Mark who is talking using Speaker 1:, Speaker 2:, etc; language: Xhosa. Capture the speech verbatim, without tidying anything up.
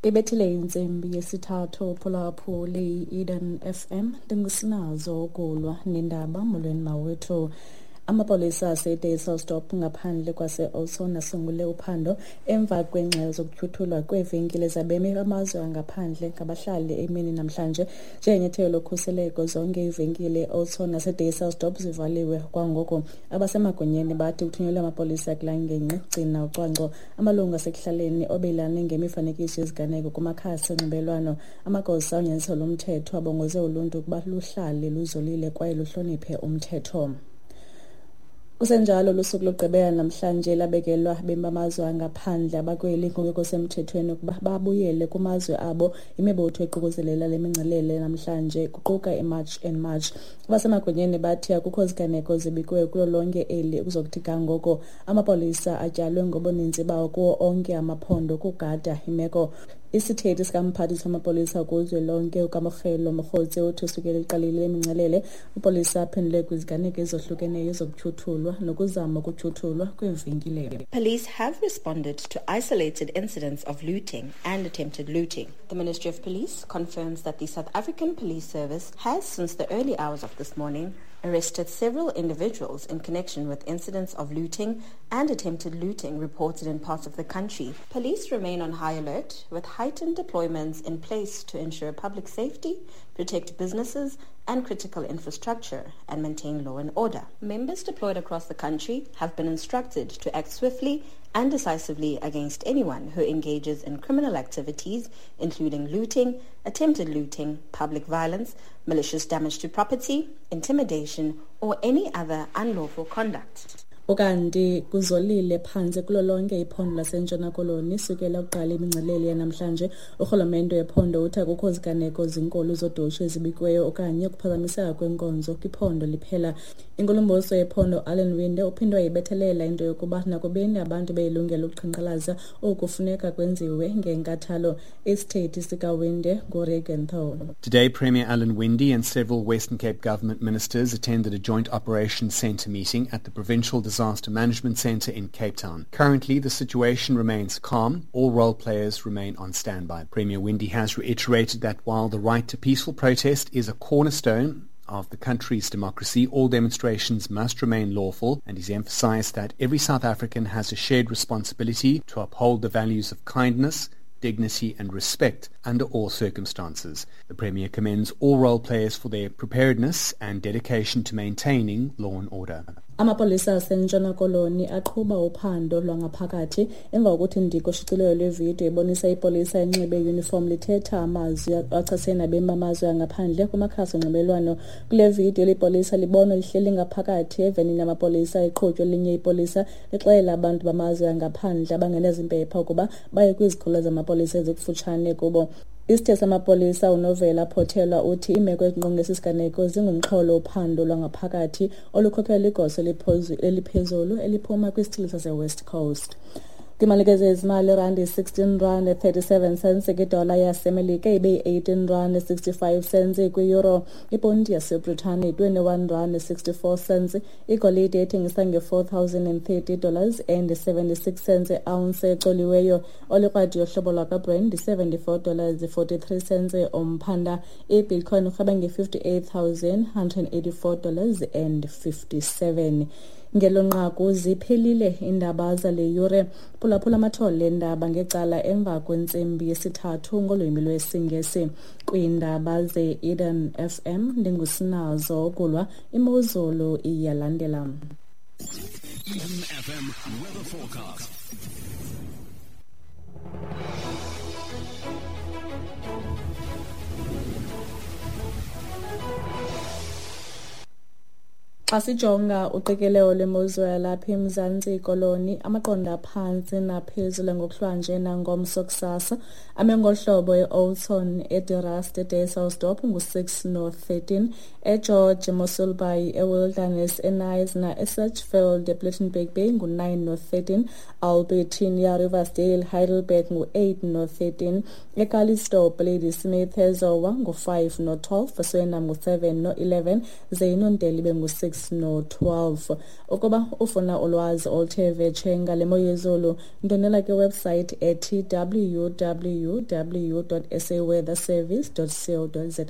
Speaker 1: Ibethile intsimbi yesithathu phulaphuli i-Eden F M, ndingusinazo ukulwa nendaba. Molweni mawethu. Amapolisa aseDysselsdorp ngaphandle kwase-Oudtshoorn asungule uphando emva kweengxelo zokutyhuthulwa kweevenkile zabemi bamazwe angaphandle ngabahlali emini namhlanje. Njengenyathelo lokhuseleko, zonke iivenkile e-Oudtshoorn naseDysselsdorp zivaliwe kwangoku. Abasemagunyeni bathi kuthunyelwe amapolisa kulaa ngingqi gcina ucwangco. Amalungu asekuhlaleni obelane ngemifanekiso yeziganeko kumakhasi onxibelelwano. Amagosa onyanzeliso lomthetho abongoze uluntu ukuba luhlale luzolile kwaye luhloniphe umthetho. Kusenjalo, lusuku lokugqibela namhlanje labekelwa abemi bamazwe angaphandle abakweli ngokungekho semthethweni ukuba babuyele kumazwe abo. Imibutho eququzelela le mingcelele namhlanje kuquka iMarch and March. Abasemagunyeni bathi akukho ziganeko zibikiweyo kulo lonke eli ukuzokuthi ga ngoko. Amapolisa atyalwe ngobuninzi bawo kuwo onke amaphondo ukugada imeko. Isithethi sikamphathiswa wamapolisa kuzwelonke uKamogelo Mogotsi uthi usukela iqalile le mingcelele, amapolisa aphendule kwiziganeko ezohlukeneyo zokutyhuthulwa nokuzama ukutyhuthulwa kweevenkile.
Speaker 2: Police have responded to isolated incidents of looting and attempted looting. The Ministry of Police confirms that the South African Police Service has, since the early hours of this morning, arrested several individuals in connection with incidents of looting and attempted looting reported in parts of the country. Police remain on high alert with heightened deployments in place to ensure public safety, protect businesses and critical infrastructure, and maintain law and order. Members deployed across the country have been instructed to act swiftly and decisively against anyone who engages in criminal activities, including looting, attempted looting, public violence, malicious damage to property, intimidation, or any other unlawful conduct.
Speaker 1: Ukanti kuzolile phantse kulo lonke iphondo laseNtshona Koloni sukela kuqala imingcelele yanamhlanje. Urhulumente wephondo uthi akukho ziganeko zinkulu zodushe ezibikiweyo okanye ukuphazamiseka kwenkonzo kwiphondo liphela. Inkulumbuso yephondo Alan Winde uphinde wayibethelela into yokuba nakubeni abantu beyilungelo ukuqhankqalaza, oku kufuneka kwenziwe ngenkathalo. Isithethi sikaWinde nguReagan Thorne.
Speaker 3: Today, Premier Alan Winde and several Western Cape government ministers attended a joint operations centre meeting at the Provincial Disaster Management Centre in Cape Town. Currently, the situation remains calm. All role players remain on standby. Premier Winde has reiterated that while the right to peaceful protest is a cornerstone of the country's democracy, all demonstrations must remain lawful, and he's emphasized that every South African has a shared responsibility to uphold the values of kindness, dignity and respect under all circumstances. The Premier commends all role players for their preparedness and dedication to maintaining law and order.
Speaker 1: Amapolisa aseNtshona Koloni aqhuba uphando lwangaphakathi emva kokuthi ndiko ushicilelo lwevidiyo ibonisa ipolisa enxibe iyunifomu lithetha amazwi achasene nabemi bamazwe angaphandle kumakhasi onxibelelwano. Kule vidiyo, eli polisa libonwa lihleli ngaphakathi evenini yamapolisa iqhutywa elinye ipolisa lixelela abantu bamazwe angaphandle abangenazimpepha ukuba baye kwizikhululo zamapolisa ezikufutshane kubo. Isithethi samapolisa uNovela Potelwa uthi iimeko ezingqonge esi siganeko zingumxholo wophando lwangaphakathi olukhokelwa ligosa eliphezulu eliphuma kwisithili saseWest Coast. Kwimalike zezimali, irandi sixteen rand thirty-seven cents kwidola yaseMelika, ibe yi-eighteen rand sixty-five cents kwi-euro. Iponti yaseBritane twenty-one rand sixty-four cents. Igolide ethengisa nge-four thousand and thirty dollars and seventy-six cents ounce ecoliweyo. Olikrwadi yohlobo lwakwaBrent seventy-four dollars forty-three cents umphanda. IBitcoin irhweba nge-fifty-eight thousand hundred and eighty-four dollars and fifty-seven. Ngelo nqaku ziphelile iindaba zale yure. Phulaphula amathole eendaba ngecala emva kwentsimbi yesithathu ngolwimi lwesiNgesi. Kwiindaba ze-Eden F M, ndingusinazo ukulwa. Imozulu iyalandela.
Speaker 4: Eden F M weather forecast.
Speaker 1: Xa sijonga uqikelelo lwemozulu yalapha eMzantsi Koloni, amaqondo aphantsi naphezulu ngokuhlwanje nangomso kusasa ame ngolu hlobo: e-Oudtshoorn, eDe Rust, eDysselsdorp ngu-six no thirteen, eGeorge, eMossel Bay, eWilderness, eKnysna, eSedgefield, ePlettenberg Bay ngu-nine no thirteen, Albertinia, Riversdale, Heidelberg ngu-eight no thirteen, eCalitzdorp, Ladysmith, eZowa ngu-five no twelve, eSwellnum ngu-seven no eleven, ze iNontele ibe ngu-six no-twelve. Ukuba ufuna ulwazi oluthe vetshe ngale mo yezulu, ndwendwela kwiwebsite ethi w w w dot s a weather service dot co dot za.